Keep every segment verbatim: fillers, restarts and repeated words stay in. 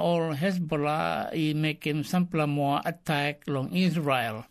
ol Hezbollah i mekim sampela moa atak long Israel.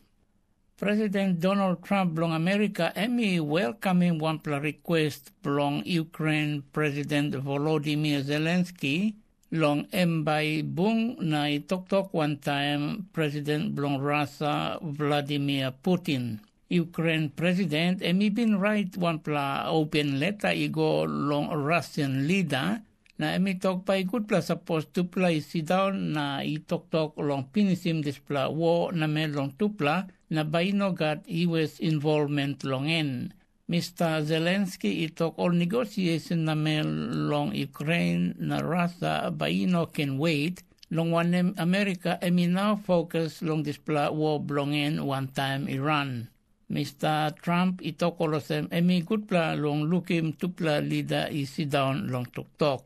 President Donald Trump bilong Amerika em i welkamim wanpela request bilong Ukraine President Volodymyr Zelensky long em bai i bung na i toktok wantaim President bilong Rusia Vladimir Putin. Ukraine President em i bin rait wanpela open leta i go long Russian lida, na em i tok bai gutpela sapos tupela i sindaun na i toktok long pinisim dispela wo namel long tupela, na bai i no gat U S involvment long en. Mista Zelenski i tok ol negosiasin namel long Ukrain na Rusia bai i no ken wet, long wanem, Amerika em i nau fokus long dispela wo bilong en wantaim Iran. Mista Trump i tok olsem em i gutpela long lukim tupela lida i sindaun long toktok.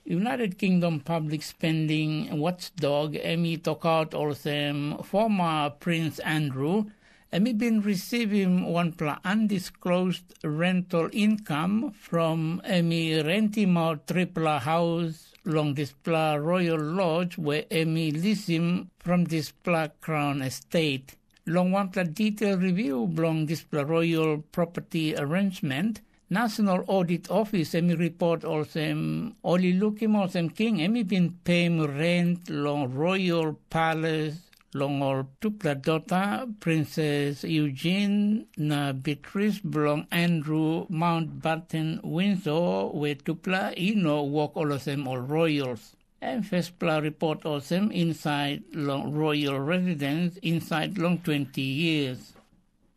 United Kingdom Public Spending Watchdog em i tokaut olsem former Prince Andrew em i bin risivim wanpela undisclosed rental income from em i rentim out tripela haus long dispela Royal Lodge we em i lisim from dispela Crown Estate. Long wanpela detail review bilong dispela Royal Property Arrangement, National Audit Office em i report olsem ol i lukim olsem king em i bin peim rent long Royal Palace long ol tupela dota, Princess Eugene na Beatrice bilong Andrew Mountbatten Windsor, we tupela i no wok olsem ol royals. Em firstpela report olsem insait long Royal Residence insait long twenty years.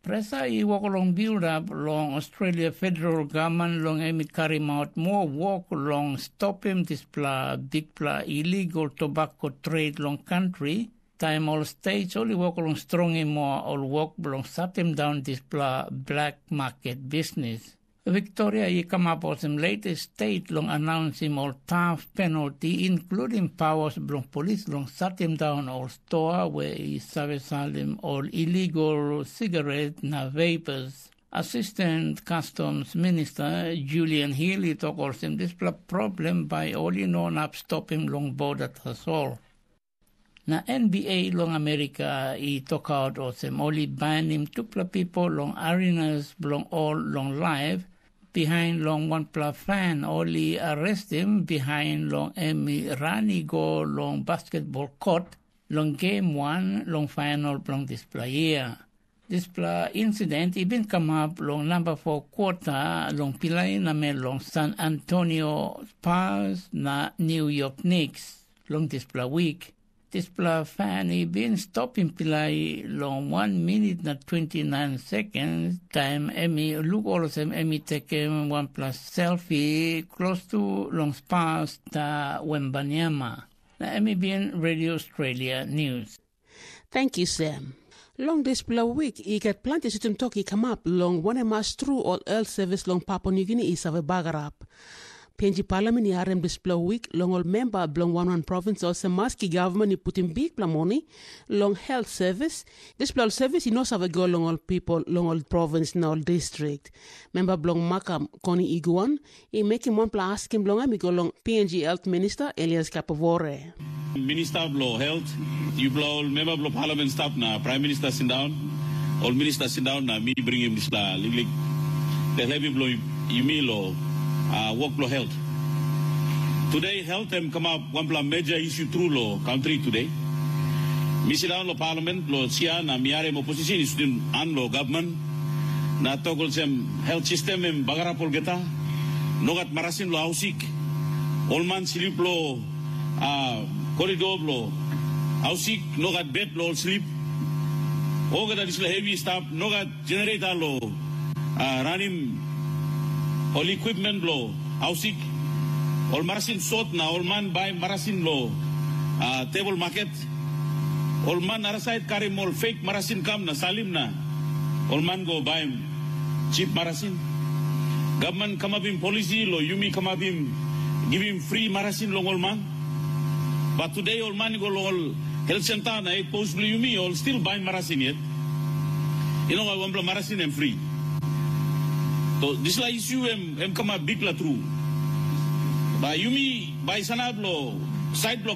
Presa i wok long bildap long Australia federal gavman long em i karim out moa wok long stopim dispela bikpela illegal tobacco trade long kantri, taim ol states ol i wok long strongim moa ol wok bilong satim daun dispela black market bisnis. Victoria i kamap olsem latest state long anaunsim ol taf penalti, inkludim pawas bilong polis long satim daun ol stoa we i save salim ol illegal sigaret na vapors. Assistant Customs Minister Julian Hill i tok olsem dispela problem bai ol i no inap stopim long border tasol. Na N B A long Amerika i tokaut olsem ol i bainim tupela bipo long arenas bilong ol long laip, bihain long wanpela fan ol i arestim bihain long em i ran i go long basketbol kot long gem wan long fainal bilong dispela yia. Dispela insident i bin kamap long namba fo kwota long pilai namel long San Antonio Spurs na New York Knicks long dispela wik. Dispela fan i bin stopim pilai long wan minit na twenty nine sekens taim em i luk olsem em i tekim wanpela selfi klostu long Spurs ta Wembanyama. Na em i bin Radio Australia News. Thank you, Sam. Long dispela wik i gat planti sutim tok i kamap long wanem mas tru ol health service long Papua Nugini i save bagarap. P N G Parliament i harim dispela wik long ol memba bilong wan wan provins olsem maski gavman i putim bikpela moni long health service, dispela ol service i no save go long ol pipel long ol provins na ol distrik. Memba bilong Makam Koni Iguan i mekim wanpela askim bilong em i go long P N G Health Minister Elias Kapavore. Minista bilong Helt, yupela ol memba bilong Parliament stap na Prime Minister sindaun, ol minista sindaun na mi bringim dispela liklik tel hevi bilong yumi long uh, wok bilong helt. Today helt em kamap wanpela major issue tru long country today. Mi sindaun long Parliament long sia na mi harim opposition i sutim an long gavman na tok olsem, helt sistem em bagarap olgeta, no gat marasin long hausik. Ol man slip long uh, koridor bilong hausik, no gat bet bilong ol slip. Olgeta dispela hevi i stap, no gat generator long uh, ranim ol equipment bilong hausik. Ol marasin sot na ol man bai marasin long uh, tebol maket. Ol man arasait karim ol fake marasin kam na salim na ol man go baim chip marasin. Gavman kamapim polisi long yumi kamapim givim fri marasin long ol man. Bat tude ol man i go long ol helt senta na ekpos bilong yumi ol stil baim marasin yet. I no gat wanpela marasin em fri. So dispela isu em em kamap bikpela tru. Bai yumi bai sanap long Sait bilong